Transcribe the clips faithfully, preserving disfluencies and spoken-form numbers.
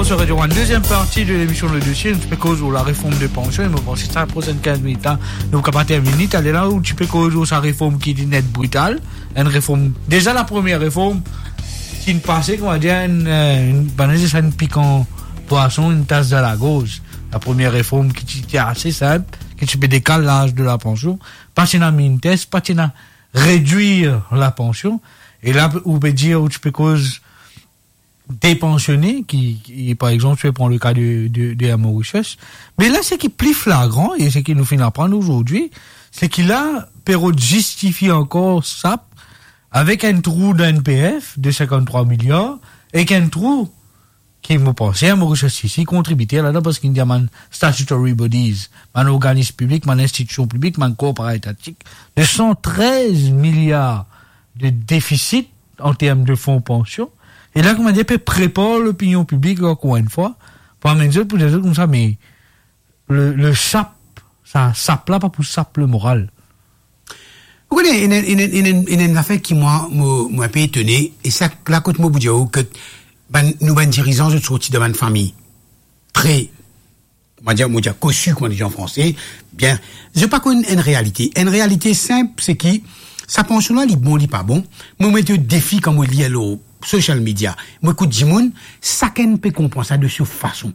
Sur Radio One, deuxième partie de l'émission Le Dossier, nou ti pe koz lor lareform de pansion, e mo panse sa prosenn kinz minit la, nou kapav termine, ale la ou ti pe koz lor sa reform ki li net brital, enn reform, deza la premie reform, ki inn pase, koumadir, enn, eh, enn, bann dir sa, enn pikan pwason, enn tas dan lagorz. La premie reform ki ti, ti ase sinp, ki ti pe dekal laz de la pansion, pa ti ena mintes, pa ti ena redwir la pansion, e la, ou pe dir, ou ti pe koz de pansione ki, ki, par exanp, si ou pran le ka de, de, de Air Mauritius. Me la, seki pli flagran, e seki nou finn aprann azordi, seki la, pe rod zistifie ankor SAP avek enn trou dan N P F de sinkant-trwa miliar, ek enn trou ki, mo panse, Air Mauritius isi kontribite ladan, parski inn dir bann statutory bodies, bann organizm piblik, bann institision piblik, bann korpor etatik, de san trez miliar de defisit an term de fon pansion. E la, koumadir, pe prepar lopinion piblik, ankor enn fwa, pou amenn zot, pou dir zot koumsa, me le, le SAP, sa, SAP la pa pou sap lemoral. Ou kone, ena, ena, ena, ena enn zafer ki mwa, mo, mo enpe etone, e sa la kot mo pou dir ou ke bann, nou bann dirizan, zot sorti dan bann fami tre, koumadir, mo dir kosi, kouma dir an franse, bien, zot pa konn enn realite. Enn realite sinp, seki sa pansion la, li bon, li pa bon. Mo met zot defi kan mo lir lor social media. Mo ekout dimoun, sakenn pe konpran sa de so fason.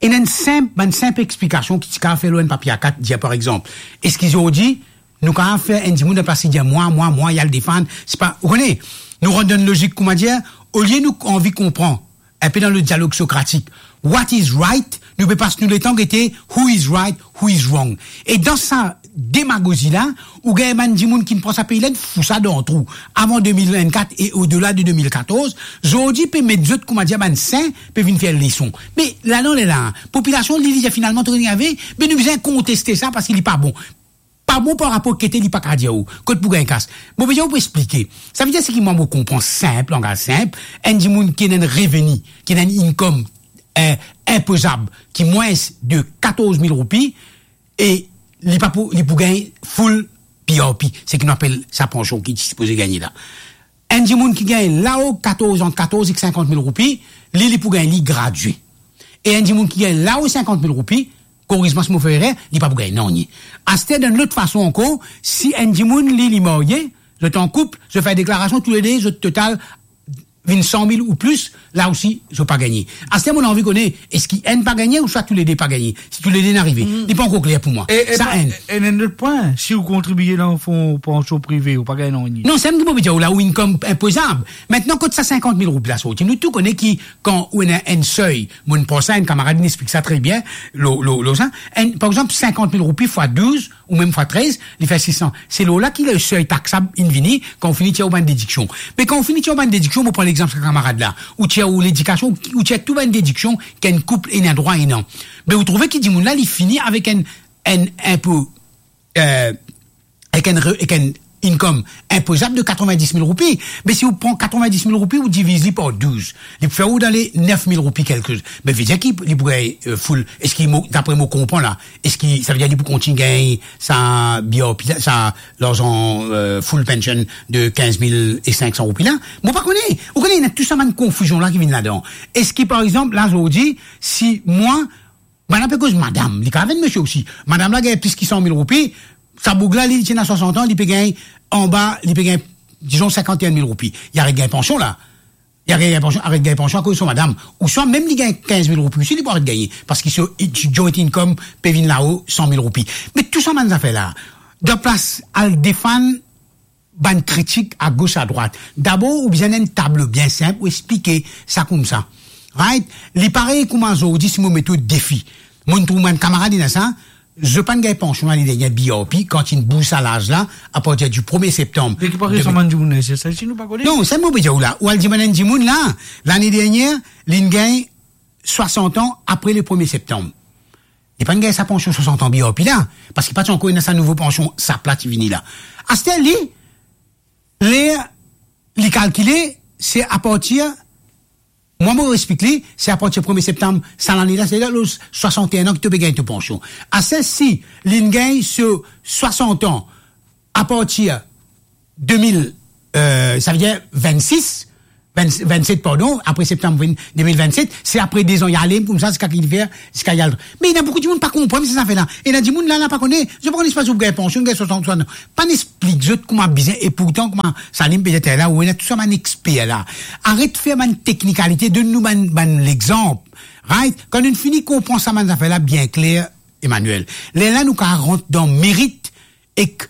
Ena enn sinp, bann sinp explikasion ki ti kapav fer lor enn papie A kat, dir par exanp, eski zordi, nou kapav fer enn dimoun dan plas li dir mwa, mwa, mwa, li al defann, se pa, ou kone, nou rant dan enn lozik, koumadir, olie nou anvi konpran, enpe dan le dialog sokratik, what is right, nou pe pas nou letan gete who is right, who is wrong. E dan sa demagozi la, ou gagn bann dimoun ki pran sa pei la, fou sa dan trou. Avan de mil vennkat e odela de de mil katorz, zordi pe met zot, koumadir, bann sin, pe vinn fer leson. Me ladan ler la, popilasion, li, li dir finalman, to ena ave, me nou bizin konteste sa parski li pa bon. Pa bon par rapor ki kote li pa kapav dir ou, kot pou gagn kas. Mo pe dir ou pou explike. Sa ve dir seki mwa mo konpran sinp, langaz sinp, enn dimoun ki ena enn reveni, ki ena enn income, eh, inpozab, ki mwins de katorz mil roupi, e li pa pou, li pou gagn full B R P, seki nou apel sa pansion ki ti sipoze gagne la. Enn dimoun ki gagn lao katorz, ant katorz ek sinkant mil roupi, li, li pou gagn li gradie. E enn dimoun ki gagn lao sinkant mil roupi, koriz mwa si mo fer erer, li pa pou gagn nanye. Aster, dan lot fason ankor, si enn dimoun, li, li marye, zot an koup, zot fer deklarasion toulede, zot total vinn san mil ou plis, la osi, zot pa gagne. Aster, mo anvi kone, eski enn pa gagne ouswa toulede pa gagne? Si toulede inn arive, li pa ankor kler pou mwa. E, e sa pa, enn. E, e enn lot pwin, si ou kontribie dan fon pansion prive, ou pa gagn nanye. Non, sa mem ki mo pe dir ou la, ou income inpozab. Aster, kot sa sinkant mil roupi la sorti? Nou tou kone ki, kan ou ena enn sey, mo pran sa, enn kamarad inn explik sa tre bien, lor, lor, lor sa, enn, par exanp, sinkant mil roupi fwa douz, ou mem fwa trez, li fer sis san. Se lor la ki le sey taksab inn vini, kan ou fini tir ou bann dediksion. Me kan ou fini tir ou bann dediksion, mo pran lexanp sa kamarad la, ou tir ou ledikasion, ou tir tou bann dediksion ki enn koup ena drwa ena. Me ou trouve ki dimoun la, li fini avek enn, enn inpo, eh, avek enn re-, avek enn income inpozab de katrevin-dis mil roupi. Me si ou pran katrevin-dis mil roupi, ou diviz li par douz, li pou fer ou dan le nef mil roupi kelke. Me ve dir ki li pou gagn, eh, full, eski mo, dapre mo konpran la, eski sa ve dir li pou kontign gagn sa B R P, sa larzan, eh, full pension de kinz mil e sink san roupi la? Mo pa kone. Ou kone, ena tou sa bann konfizion la ki vinn ladan. Eski, par exanp, la, zordi, si mwa, bann la pe koz madam, li kapav enn misie osi. Madam la gagn plis ki san mil roupi, sa boug la, li, li ti ena swasant an, li pe gagn anba, li pe gagn, dizon, sinkant-e-enn mil roupi. Li aret gagn pansion la. Li aret gagn pansion, aret gagn pansion akoz so madam. Ouswa mem li gagn kinz mil roupi osi, li pou aret gagne. Parski so, so joint income pe vinn lao san mil roupi. Me tou sa bann zafer la, dan plas al defann bann kritik agos, adrwat. Dabor, ou bizin enn tablo bien sinp, ou explike sa koumsa. Right? Li parey kouma zordi, si mo met ou defi. Mo trouv bann kamarad ena sa, zot pa'nn gagn pansion lane dernie B R P, kan inn bouz sa laz la, apartir di premie septanm. Me ki parey de sa bann dimoun la, se sa, si nou pa kone. Non, sa mo pe dir ou la. Ou al demann enn dimoun la, lane dernie, li'nn gagn swasant an apre le premie septanm. Li pa'nn gagn sa pansion swasant an B R P la, parski pa ti ankor ena sa nouvo pansion SAP la ti vini la. Aster li, ler li kalkile, se apartir, mwa mo explik li, se apartir premie septanm sa lane la, se la, lor swasant-e-enn an ki to pe gagn to pansion. Aster, si li'nn gagn so swasant an apartir de mil, eh, sa ve dir vennsis, Vinn-, vinn-set, pardon, apre septanm vinn-, de mil vinn-set, se apre de zan li ale koumsa ziska ki li fer, ziska li al. Me ena boukou dimoun pa konpran sa zafer la. Ena dimoun la, la pa kone, zot pa kone si pa zot gagn pansion, gagn swasant, swasant. Pa'nn explik zot kouma bizin, e pourtan kouma Salim pe dir la, ou ena tou sa bann exper la. Aret fer bann teknikalite, donn nou bann, bann lexanp. Right? Kan nou fini konpran sa bann zafer la bien kler, Emmanuel, lerla nou kapav rant dan merit ek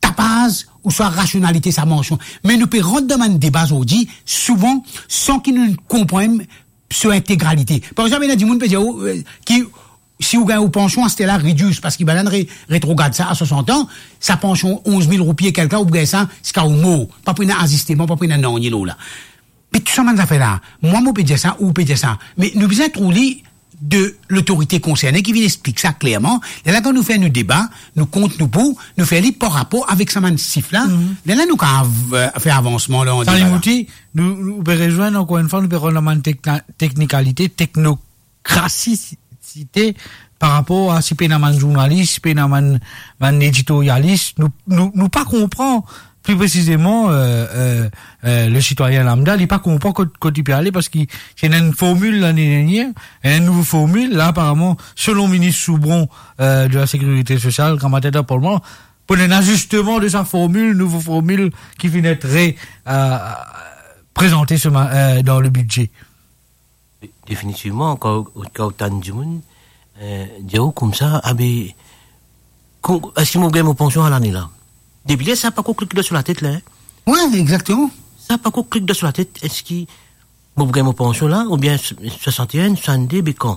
tapaz ouswa rasionalite sa pansion. Me nou pe rant dan bann deba zordi, souvan, san ki nou konpran so integralite. Par exanp, ena dimoun pe dir ou, eh, ki si ou gagn ou pansion, aster la redwi, parski bann re-, retrogad sa a swasant an, sa pansion onz mil roupi e kek la, ou gagn sa ziska ou mor. Pa pou ena azisteman, pa pou ena nanye lor la. Me tou sa bann zafer la, mwa mo pe dir sa, ou pe dir sa, me nou bizin trouv li de lotorite konserne ki vinn explik sa klerman. Lerla kan nou fer nou deba, nou kont nou pou, nou fer li par rapor avek sa bann sif la, lerla nou kapav, eh, fer avansman la, dan deba la. Salim Mouti, nou, nou pe rezwenn ankor enn fwa, nou pe rant dan bann tekna-, teknikalite, teknokrasisite par rapor a si pena bann zournalis, si pena bann, bann editorialis, nou, nou, nou pa konpran pli presizeman, eh, eh, eh, le sitwayin lambda, li pa konpran kot, kot li pe ale, parski ti ena enn formil lane dernier, enn nouvo formil, la, aparaman, selon minis Soubron, eh, de la Sécurité Sociale, gramatin dan Parlman, pou ena zisteman de sa formil, nouvo formil ki finn et re-, eh, prezante se ma-, eh, dan le bidze. De-, definitivman, kan, kan ou tann dimoun, eh, dir ou koumsa, abe, kou-, eski mo gagn mo pansion lane la? Depi ler sa pa ankor klik dan so latet la, hein? Wi, exakteman. Sa pa ankor klik dan so latet, eski mo gagn mo pansion la, oubien s-, swasant e enn, swasannde, be kan?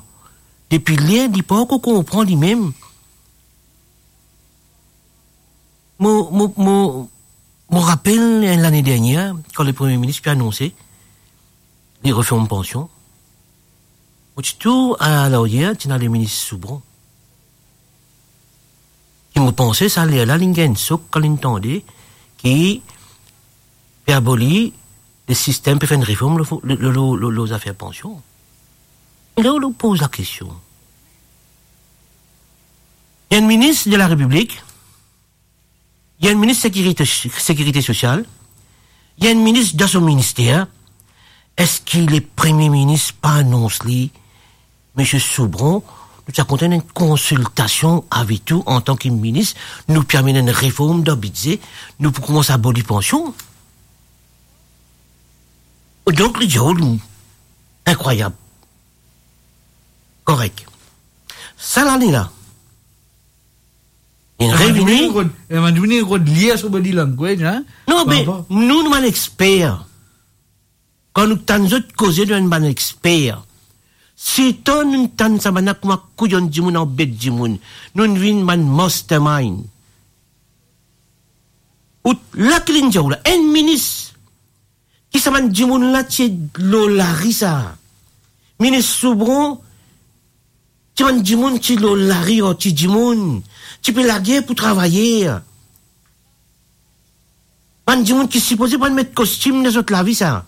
Depi ler li pa ankor konpran limem. Mo, mo, mo, mo rapel, eh, lane dernier, kan le Premie Minis pe anonse li reform pansion, mo ti tourn a laryer, ti ena le minis Soubron. Ki mo panse sa ler la, li gagn enn sok kan li tande ki pe aboli le sistem, pe fer enn reform lor, lor, lor, lor, lor zafer pansion. E la, ou poz lakestion. Li enn minis de la Repiblik, li enn minis sekirite, sekirite sosial, li enn minis dan so minister. Eski le Premie Minis pa anons li, Misie Soubron, nou ti a kontan enn konsiltasion avek ou antan ki minis, nou pe amenn enn reform dan bidze, nou pou koumans aboli pansion? Donk, li dir ou, inkrwayab. Korek. Sa lane la, li revini. Ema, nou rod lir so body language, hein? Non, me nou, nou bann exper. Kan nou tann zot koze, nou enn bann exper. Sitan nou tann sa bann la kouma kouyonn dimoun, anbet dimoun. Nou vinn bann mastermind. Ou la ki linn dir ou la, enn minis ki sa bann dimoun la ti lor lari sa. Minis Soubron, ti bann dimoun ti lor lari, oh, ti dimoun ti pe lager pou travayer. Bann dimoun ki sipoze pa met kostim dan zot lavi sa.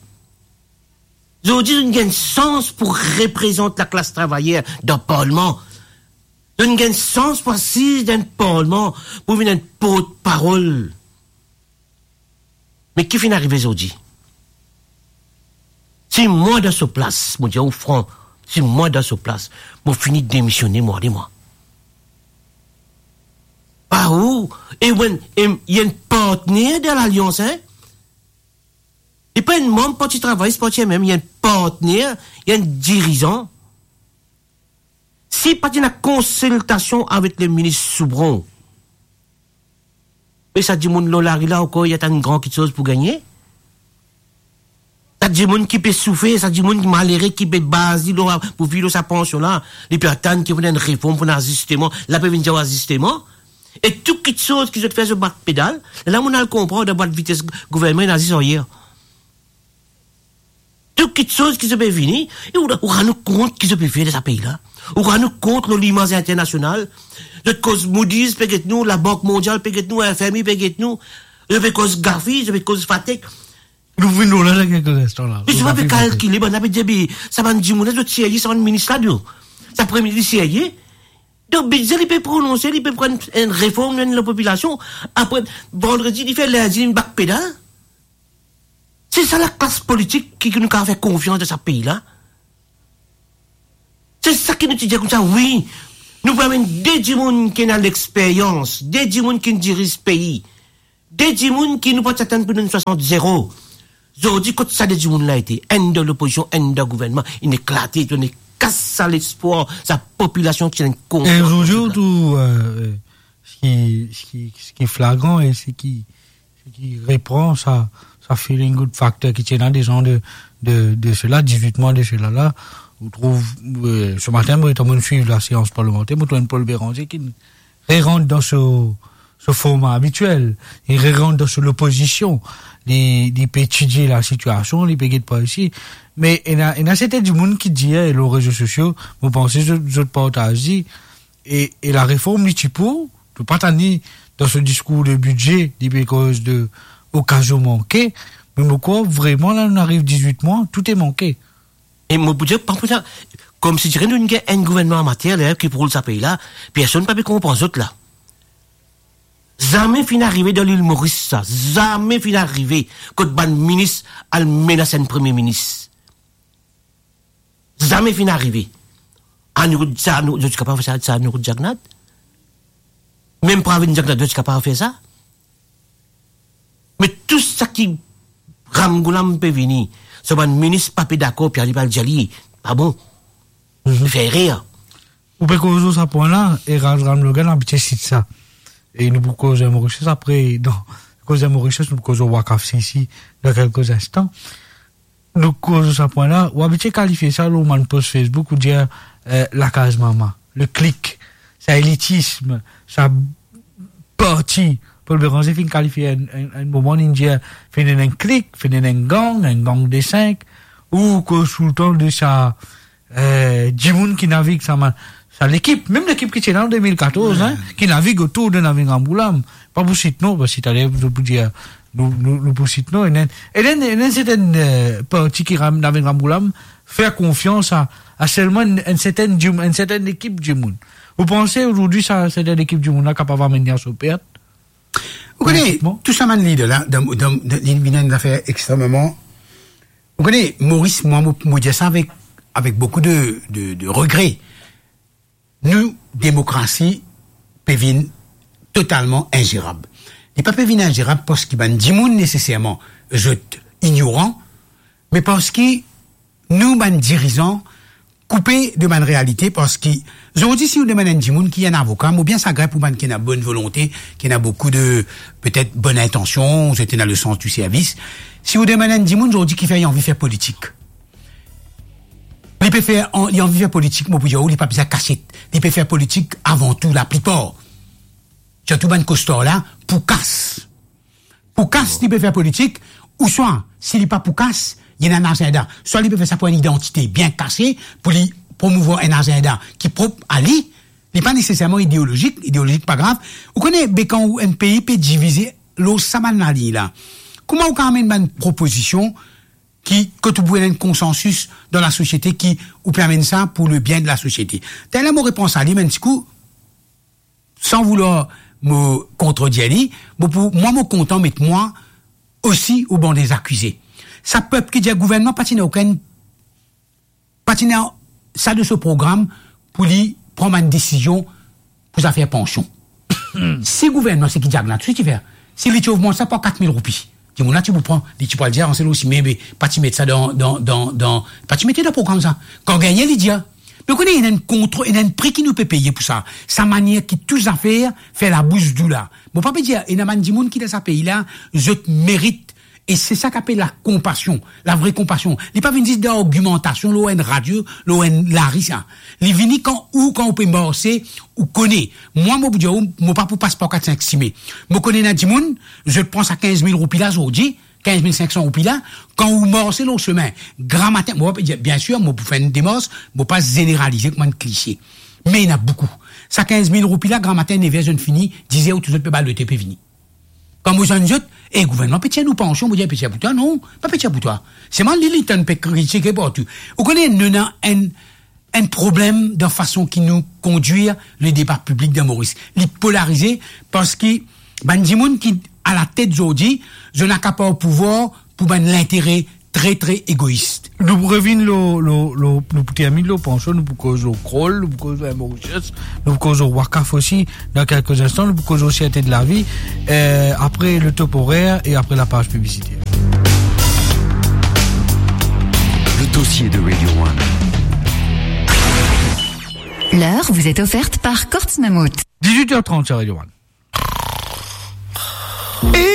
Zordi, zot gagn sans pou reprezant laklas travayer dan parlman. Zot gagn sans pou asiz dan parlman, pou vinn enn portparol. Me ki finn arive zordi? Si mwa dan so plas, mo dir ou fran, si mwa dan so plas, mo fini demisione, mo ale mwa. Pa ou, e ou enn, e, li enn partner dan lalians, hein? Li pa enn manb Parti Travayis, Parti M M, li enn partner, li enn dirizan. Si pa ti ena konsiltasion avek le minis Soubron, me sa dimoun lor lari la ankor, li atann gran kiksoz pou gagne? Sa dimoun ki pe soufer, sa dimoun ki malere, ki pe baz li lor, pou viv lor sa pansion la, li pe atann ki pou ena enn reform, pou ena azisteman, la pe vinn dir azisteman. E tou kiksoz ki zot fer, zot bak pedal. La, mo al konpran, dan bwat vites gouvernman, ena zis ayer. Tou kiksoz ki zot pe vini, e ou, ou rann ou kont ki zot pe fer dan sa pei la. Ou rann ou kont lor limaz internasional. Zot koz Moody's pe get nou, Labank Mondial pe get nou, F M I pe get nou. Zot pe koz GAFI, zot pe koz FATEC. Nou vinn la, dan kek linstan la. Me zot pa pe kalkile, bann la pe dir, be, sa bann dimoun la, zot serye, sa bann minis la, nou. Sa Premie Minis serye. Donk, bidze li pe prononse, li pe pran enn reform, enn lapopilasion. Apre, vandredi, li fer, lindi, li bak pedal. Se sa laklas politik ki, ki nou kapav fer konfians dan sa pei la? Se sa ki nou ti dir koumsa, wi, nou pou amenn de dimoun ki ena lexperyans, de dimoun ki diriz pei, de dimoun ki nou pa ti atann pou donn swasant zero. Zordi, kot sa de dimoun la ete? Enn dan lopozision, enn dan gouvernman, inn eklate, inn kas sa lespwar, sa popilasion ki ena konfians. E zordi, tou, euh, seki, seki, seki flagran e seki, seki repran sa, sa feeling good factor ki ti ena dezan de, de, de sela, dizwit mwa de sela la, ou trouv, euh, se matin, mo ti ann swiv laseans parlimanter, mo trouv Paul Bérenger ki rerant dan so, so forma abitiel, li rerant dan so lopozision, li, li pe etidie lasitiasion, li pe get par isi. Me ena, ena sertin dimoun ki dir, e lor rezo sosio, mo panse zot, zot partaz li, e, e lareform li ti pou, to pa tann li dan so diskour de bidze, li pe koz de okazion manke, me mo krwar vreman la, nou ariv dizwit mwa, tou e manke. E mo pou dir, pa pou sa, koumsi diran nou gagn enn gouvernman amater la ki pou roul sa pei la, personn pa pe konpran zot la. Zame finn arive dan Lil Moris sa, zame finn arive kot bann minis al menas enn premie minis. Zame finn arive. Anirudh, sa, nou, zot ti kapav fer sa, sa Anirudh Jagannath? Mem Pravind Jagannath, zot ti kapav fer sa? Me tou seki Ram Ghulam pe vini, so bann minis pa pe dakor, Pierre Laliberte dir li, pa bon. Mhm. Fer erer. Ou pe koz lor sa pwin la, e Ram, Ram Logan abitie sit sa. E nou pou koz Mauritius apre, non, koz Mauritius, nou pou koz Waqf C C dan kelke instan. Nou koz sa pwin la, ou abitie kalifie sa lor bann post Facebook, ou dir, eh, lakaz mama, le clique, sa elitism, sa parti. Paul Bérenger finn kalifie enn, enn, enn moman, li dir, finn ena enn clique, finn ena enn gang, enn gang de sink, ou koz toultan de sa, eh, dimoun ki navig sa ma-, sa lekip, mem lekip ki ti la an de mil katorz, hein, ki navig otour de Navin Ramgoolam. Pa pou sit non, parski taler zot pou dir, nou, nou, nou pou sit non, ena, ena, ena sertin, eh, parti ki ram-, Navin Ramgoolam fer konfians a, a selman enn, enn sertin dim-, enn sertin lekip dimoun. Ou panse azordi sa, sertin lekip dimoun la kapav amenn li a so pert? Ou kone, tou sa bann lider la, dan, dan, dan, li vinn enn zafer extrememan, ou kone, Moris, mwa, mo, mo dir sa avek, avek boukou de, de, de regre. Nou demokrasi pe vinn totalman inzerab. Li pa pe vinn inzerab parski bann dimoun neseserman zot ignoran, me parski nou bann dirizan koupe de bann realite, parski zordi si ou demann enn dimoun ki enn avoka, mo bien sagrin pou bann ki ena bonn volonte, ki ena boukou de, petet, bonn intansion, zot ena le sans du service. Si ou demann enn dimoun zordi kifer li anvi fer politik, li pe fer, an-, li anvi fer politik, mo pou dir ou, li pa bizin kasiet. Li pe fer politik avan tou, laplipar. Sirtou bann kostar la, pou kas. Pou kas, li pe fer politik, ouswa, si li pa pou kas, li ena enn azinda. Swa li pe fer sa pou enn idantite bien kase, pou li promouvwar enn azinda ki prop a li, li pa neseserman ideolozik, ideolozik pa grav. Ou kone, be kan ou enn pei pe divize lor sa bann laliny la, kouma ou kapav amenn bann propozision ki, kot ou pou ena enn konsansis dan lasosiete ki ou pe amenn sa pou lebien de lasosiete. Taler mo repans a li, me enn ti kou, san voulwar mo kontredir li, mo pou, mwa, mo kontan met mwa osi o ban de zakize. Sa pep ki dir gouvernman pa ti ena okenn, pa ti ena sa dan so program pou li pran bann desizion pou zafer pansion. Si gouvernman, seki Jagannath ti fer, si li ti ogmant sa par kat mil roupi, dimoun la ti pou pran, li ti pou al dir, "Ah, se lor sime, be, pa ti met sa dan, dan, dan, dan, pa ti mete dan program sa." Kan gagne, li dir, me ou kone, ena enn kontro-, ena enn pri ki nou pe peye pou sa. Sa manier ki tou zafer fer labous dou la. Mo pa pe dir, ena bann dimoun ki dan sa pei la, zot merit, e se sa ki apel lakonpasion, lavre konpasion. Li pa vinn zis dan argimantasion lor enn radio, lor enn lari sa. Li vini kan ou, kan ou pe marse, ou kone. Mwa, mo pou dir ou, mo pa pou pas par kat sink sime. Mo kone ena dimoun, zot pran sa kinz mil roupi la zordi, kinz mil sink san roupi la, kan ou marse lor semin, gramatin, mo pa pe dir, biensir, mo pou fer enn demars, mo pa zeneralize kouma enn klize. Me ena boukou. Sa kinz mil roupi la, gramatin, nev er zot fini, diz er, ou tou zot pe bal loto, pe vini. Kan mo zwenn zot, "E, gouvernman pe tir nou pansion," mo dir, "Pe tir pou twa, non, pa pe tir pou twa." Selman li, li tann pe kritike partou. Ou kone, nou ena enn, enn problem dan fason ki nou kondwir le deba piblik dan Moris. Li polarize parski bann dimoun ki alatet zordi, zot ena kapav pouvwar pou bann lintere tre, tre egois. Nou pou revinn lor, lor, lor, nou pou terminn lor pansion, nou pou koz lor Kroll, nou pou koz lor Mauritius, nou pou koz lor Wakaf osi, dan kelke instan, nou pou koz lor Serte de la Vie, euh, apre le top horaire e apre lapaz piblisiter. Le dossier de Radio One. L'heure vous est offerte par Courts Mammouth. Dix-huit heures trente sur Radio One.